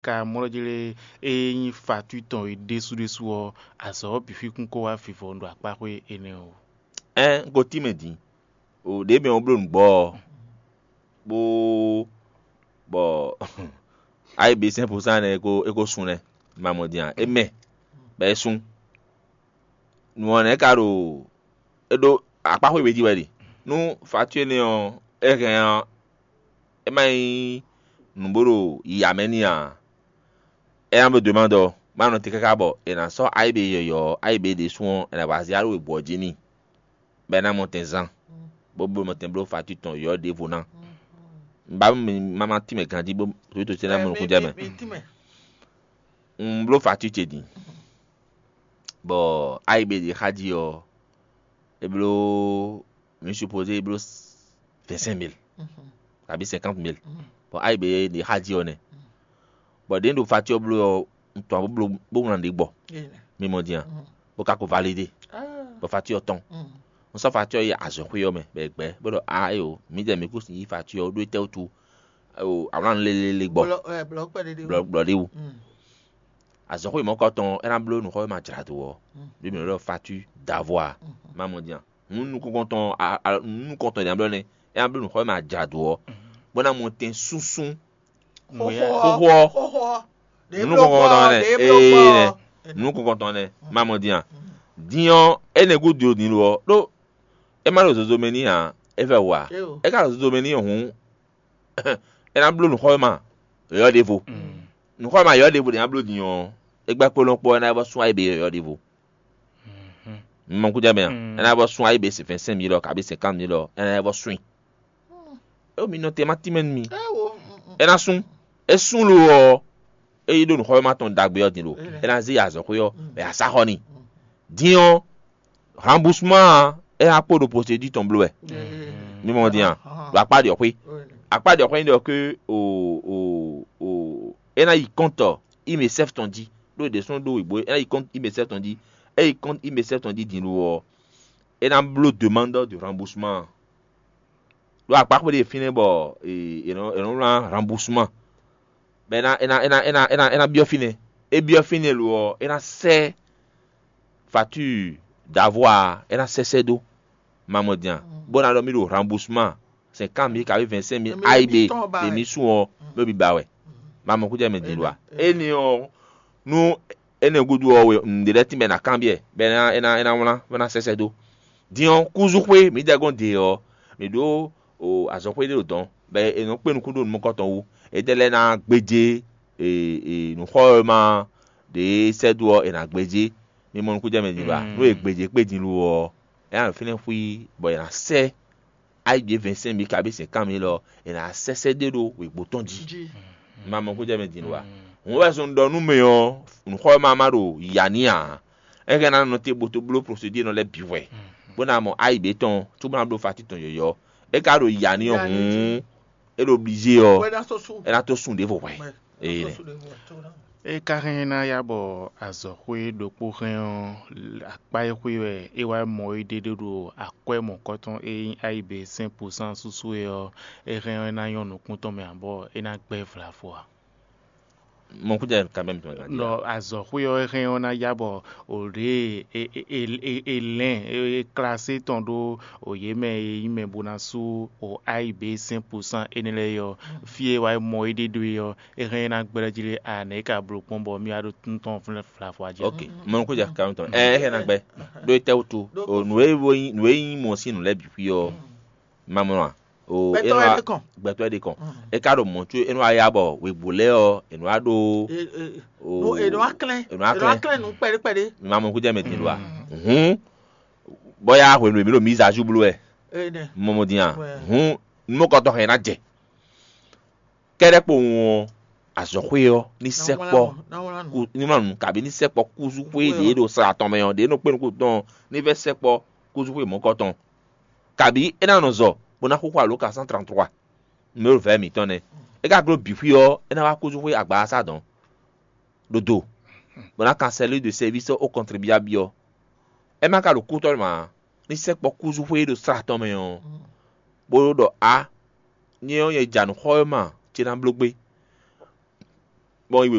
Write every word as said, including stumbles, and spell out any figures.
ka mlɔ́ jlé é nyí fatú tɔn é ɖésú ɖésú ɔ́, azɔ̌ ɔ́ bǐ xwíkún kó wá vivɔ ɖo akpáxwé énɛ́ ɔ́ wú. Ɛn un ko tín mɛ din. O ɖě mɛ ɔ́ bló nǔgbɔ ɔ́, bó bɔ ayíbí sɛ́n pusán nɛ́ é ko é ko sun nɛ́, ma mɔ din a? É mɛ bɔ é sun. Nǔ ɔ́ nɛ́ ka ɖo é ɖó akpáxwé we jí wɛ ɖe. Nú fatú énɛ́ ɔ́, é hɛn ɔ́, é má nyí nǔ bó ɖo yiya mɛ n'i ǎ. É ná bló dǒ ma ɖɔ má nɔ te káká bɔ è nǎ sɔ́ ayíbí yɔ̌yɔ́ ɔ́, ayíbí ɖésú ɔ́, è nǎ wá zé alɔ wěbú ɔ́ jí n'i, bɔ é ná mɔ tɛn zán, bó bló mɔ tɛn bló fatú tɔn yɔ̌yɔ́ ɖěvo ná. Un ba nú mi má má tínmɛ ganjí bó sodíto ce ná mɔ nukúnjɛ mɛ. Un bló fatú ce din, bɔ ayíbí ɖě xá jí ɔ́, é bló mǐ supozé é bló vingt-cinq mille kabí cinquante mille. Bɔ ayíbí ɖě xá jí ɔ́ nɛ́. Bɔ ɖě un ɖo fatú ɔ́ bló ɔ́, un tɔn bó bló bó wlán ɖě gbɔ. Mi mɔ din a? Bó ka ko validé, bɔ fatú ɔ́ tɔn. Un sɔ́ fatú ɔ́ yi azɔ̌xwé ɔ́ mɛ, bɔ è gbɛ̌ bó ɖɔ a éyo, mǐdɛɛ mǐ kún yí fatú ɔ́ ɖó étɛ́ wútu? Awlán lélélé gbɔ. Blɔ blɔ ɖé wú. Azɔ̌xwé mɔ̌kɔtɔn ɔ́, é ná bló nǔxɔ́ e ma jlá dó ɔ́, ɖó mǐ nɔ ɖɔ fatú davɔ a? Ma mɔ din a? Nǔ nukɔntɔn a- a- nǔ nukɔntɔn din a blɔ́ nɛ́, é ná bló nǔxɔ́ e ma jlá dó ɔ́, bó ná mɔ tɛn súnsún xóxó ɔ́. Xóxó ɔ́. Nǔ nukɔntɔn nɛ́ ee nɛ́. Nǔ nukɔntɔn nɛ́, ma mɔ din a? Din ɔ́, énɛ́ gúdo din lo ɔ́, ɖó é má ɖo zozo mɛ n'i ǎ, é vɛ wǔ ǎ. É ka ɖo zozo mɛ n'i hǔn, é ná bló nǔxɔ́ e ma yɔ̌yɔ́ ɖěvo. Nǔxɔ́ e ma yɔ̌yɔ́ ɖěvo ɖě ná bló din ɔ́, é gbɛ́ kpónɔ kpó ɔ́, é ná vɔ sún ayǐ bǐ yɔ̌yɔ́ ɖěvo. Mi mɔ kújá mɛ a? É ná vɔ sún ayǐ bǐ vingt-cinq mille ɔ, kabí cinquante mille ɔ, é ná vɔ sún i. É mi nɔ te ma tínmɛ nú mi. É ná sún. É sún lo ɔ́, é yi ɖó nǔxɔ́mɛ tɔn ɖagbe ɔ́ din lo. É ná zé yi azɔ̌xwé ɔ́, bɔ è nǎ sá xɔ n'i. Din ɔ́, remboursement ɔ́, é ná kpo ɖo procédure tɔn bló wɛ. Mi mɔ din a? Ɖo akpá ɖě ɔ́ xwé. Akpá ɖě ɔ́ xwé nyí ɖɔ ke o o o é ná yi kɔ́ntɔ imesɛf tɔn jí. Ɖó ɖě sɔ́ ɖó wěgbó é ná yi kɔ́ntɔ imesɛf tɔn jí. É yi kɔ́ntɔ imesɛf tɔn jí din lo ɔ́, é ná bló demande de remboursement. Ɖó akpáxwé ɖé fínɛ́ bɔ è nɔ è nɔ wlán remboursement. Bɔ é ná é ná é ná é ná é ná é ná byɔ́ fínɛ́. É byɔ́ fínɛ́ lo ɔ́, é ná sɛ́ facture d'avoir, é ná sɛ́ sɛ́ dó. Ma mɔ din a? Bó ná ɖɔ mì ɖo remboursement cinquante mille kabí vingt-cinq mille A I B, èmi sún ɔ́, bó bi ba wɛ. Ma mɔ kújɛ mɛ din lo a? Énɛ́ ɔ́, nú énɛ́ gúdo ɔ́, nǔɖé lɛ́ɛ tínmɛ ná kanbyɔ́, bɔ é ná é ná é ná wlán, bó ná sɛ́ sɛ́ dó. Din ɔ́, kúzúxwé mǐdɛɛ gɔ́n ɖe ɔ́, mǐ ɖó azɔ̌xwé ɖé ɖo dɔ̌n, bɔ è nɔ kpé nukún ɖó nǔ mɔkɔtɔn wú. Étɛ́ lɛ́ɛ ná gbéjé nǔxɔ́mɛ ɖě sɛ́ dó ɔ́, è nǎ gbéjé. Mi mɔ nukún jɛ mɛ din ba? Nú è gbéjé kpé din lo ɔ́, é ná ɖo fínɛ́ xwí, bɔ è nǎ sɛ́ ayǐ ɖě vingt-cinq mille kabí cinquante mille ɔ́, è nǎ sɛ́ sɛ́ ɖé ɖó wěgbó tɔn jí. Ma mɔ nukún jɛ mɛ din lo a? Hǔn wɛ zɔn ɖɔ nú mɛ ɔ́, nǔxɔ́mɛ ma ɖo yǎ ní ǎ. É hɛn ná nɔ te bó tó bló procédure nɔ lɛ́ɛ bǐ hwɛ, bó ná mɔ ayǐ ɖě tɔn, cóbó ná bló facture tɔn yɔ̌yɔ́. É ka ɖo yǎ ní ɔ́ hǔn, é ɖo obligé ɔ́, é ná tó sún ɖěvo hwɛ. Ee, é ka hɛn ná ya bɔ azɔ̌xwé ɖokpó hɛn ɔ́, akpá e xwé wɛ é wá mɔ é ɖe ɖó ɖo akwɛ́ mɔ̌kɔtɔn e nyí ayǐ B cinq pour cent súsú é ɔ́, é hɛn ɔ́ é ná nyɔ́ nukún tɔn mɛ ǎ bɔ é ná gbɛ́ vlavo ǎ. Mɔkújɛ kan bɛ mi tɔn kan. Nɔ azɔ̌xwé ɔ́ hɛn ɔ́ ná ya bɔ o ɖě e e e e lɛn e klase tɔn ɖó o yě mɛ e nyí mɛ bó ná sú o ayǐ B cinq pour cent énɛ́ lɛ́ɛ ɔ́, fí e wá mɔ é ɖe ɖó é ɔ́, é hɛn ná gbɛ́ jí lé a nɛ̌ é ka bló kpɔ́n bɔ mì wá ɖó tún tɔn flɛ́ flafɔ jí. Ok, mɔkújɛ kan tɔn ɛ é hɛn ná gbɛ́ ɖó é tɛ́ wútu o nǔ e nǔ e nyí mɔ sín nǔ lɛ́ɛ bǐ xwí ɔ́. Ma mlɔ́ a? O Gbɛtɔ́ wɛ ɖe kɔn. Gbɛtɔ́ wɛ ɖe kɔn. É ka ɖo mɔ̌ có é nɔ wá ya bɔ wěgbó lɛ́ɛ ɔ́, è nɔ wá ɖó. È nɔ wá klɛ́n. È nɔ wá klɛ́n nǔ kpɛɖé kpɛɖé. Ma mɔ kújɛ mɛ din ɖo a? Hǔn bɔ ya hwenu e mǐ ɖo mǐ zǎ ju bló wɛ. Mɔmɔ din a? Hǔn nú kɔtɔ́ hɛn ná jɛ. Kɛ́ɖɛ́ kpowun ɔ́, azɔ̌xwé ɔ́ ní sɛkpɔ́ ní wlán nǔ kabí ní sɛkpɔ́ kúzúxwé ɖě ɖo sla tɔn mɛ ɔ́, ɖě nɔ kpé nukún tɔn ní vɛ́ sɛkpɔ́ kúzúxwé mɔ̌kɔtɔn. Kabǐ é ná nɔ zɔ bó ná xúxú alǒkan cent trente-trois numéro vɛ̌ mǐtɔn nɛ́. É ka gló bǐ xwí ɔ́, é ná wá kúzúxwé agbaasa dɔn ɖo do, bó ná kan sɛlú de sɛvísɔ ó kɔntribiábi ɔ́. É má ka ɖo kútɔ́ mɛ ǎ, ní sɛkpɔ́ kúzúxwé ɖo sla tɔn mɛ ɔ́, bó ɖɔ á, nyɛ ɔ́ nyɛ ja nǔ xɔ e ma ce ná bló gbé. Bɔ